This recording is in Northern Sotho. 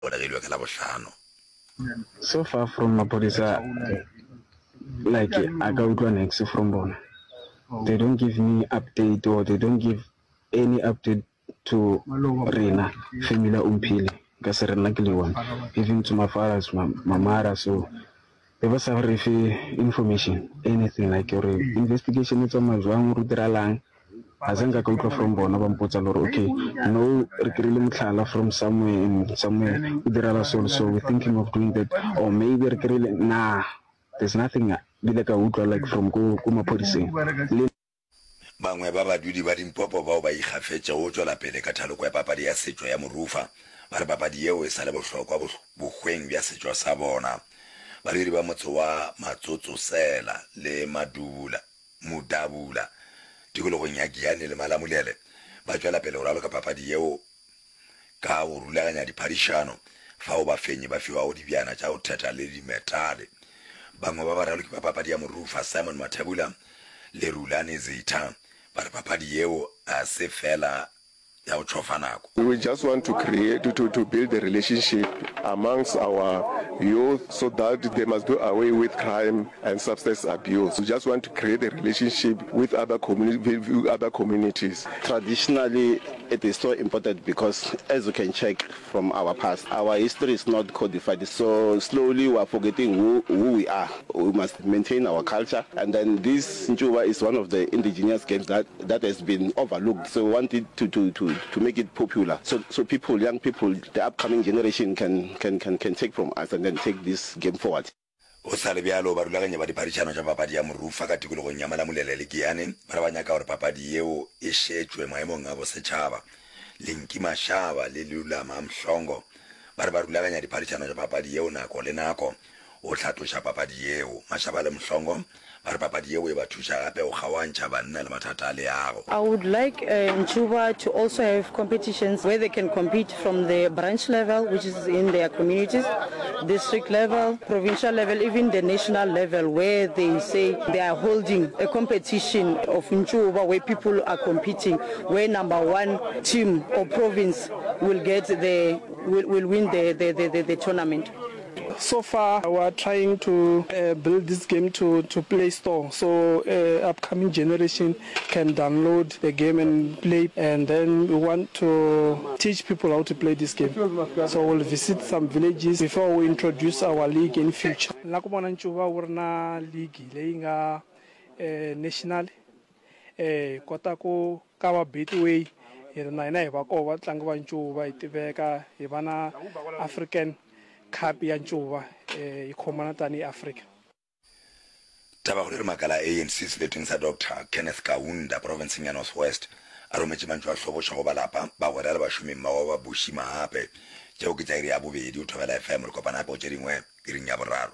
Golegilwe ka Labohlano. So far from maphodisa like a ka utlwa niks from bona they don't give me update or they don't give any update to rena family ya Omphile nka se re nna ke le one even to my fathers my, my mother so be ba sa re fe information anything like gore investigation e tsamaya jwang gore o diralang ga se nka ka utlwa from bona ba mpotsa le gore okay no re kry-ile motlhala from somewhere and somewhere o dirala so so we're thinking of doing that or maybe re kry-ile nah there's nothing bile ka utlwa like from ko ko maphodiseng le Bangwe ba badudi ba Limpopo bao ba ikgafetšego go tšwela pele ka thaloko ya papadi ya setšo ya morufa ba re papadi yeo e sa le bohlokwa bohweng bja setšo sa bona. Badudi ba motse wa Matsotsosela le Madubula, Mudabula, tikologong ya Giyani le Malamulele ba tšwela pele go raloka papadi yeo ka go rulaganya diphadišano fao bafenyi ba fiwago dibjana tša go thetha le dimetale. Bangwe ba baraloki ba papadi ya morufa, Simon Mathebula le Rulani Zitha, ba re papadi yeo ga se feela ya go tšhofa nako. We just want to create, to, to build a relationship amongst our youth so that they must do away with crime and substance abuse. We just want to create a relationship with other, communi- other communities. Traditionally, it is so important because as you can check from our past, our history is not codified. So slowly we are forgetting who, who we are. We must maintain our culture. And then this Ncuva is one of the indigenous games that, that has been overlooked. So we wanted to, to, to, to make it popular. So, so people, young people, the upcoming generation can, can, can, can take from us and then take this game forward. Go sa le bjalo, barulaganyi ba diphadišano tša papadi ya morufa ka tikologong ya Malamulele le Giyani ba re ba nyaka gore papadi yeo e šetšwe maemong a bosetšhaba. Linki Mashaba le Lulama Mhlongo ba re ba rulaganya diphadišano tša papadi yeo nako le nako go hlatloša papadi yeo. Mashaba le Mhlongo ba re papadi yeo e ba thuša gape go kgaoantšha banna le mathata a leago. I would like Ncuva to also have competitions where they can compete from the branch level, which is in their communities, district level, provincial level, even the national level, where they say they are holding a competition of Ncuva where people are competing, where number one team or province will get the, will, will win the, the, the, the, the tournament. So far we are trying to build this game to to play store so upcoming generation can download the game and play and then we want to teach people how to play this game so we'll visit some villages before we introduce our league in future. Ni la ku vona ncuva wu ri na league leyi nga national hi kota ku ka va Betway hi ri na hina hi va koho vatlangi va ncuva hi tiveka hi va na African Cup ya ncuva yi khomana tanihi Africa. Tabakgolo e re makala a ANC seleteng sa Doctor Kenneth Kaunda profenseng ya North West a rometše mantšu a hlobošo go ba lapa, bagwera le bašomi mmogo ba Bushi Mahape. Tšeo ke tša iri ya bobedi o Thobela FM. Re kopana gape go tše dingwe iring ya boraro.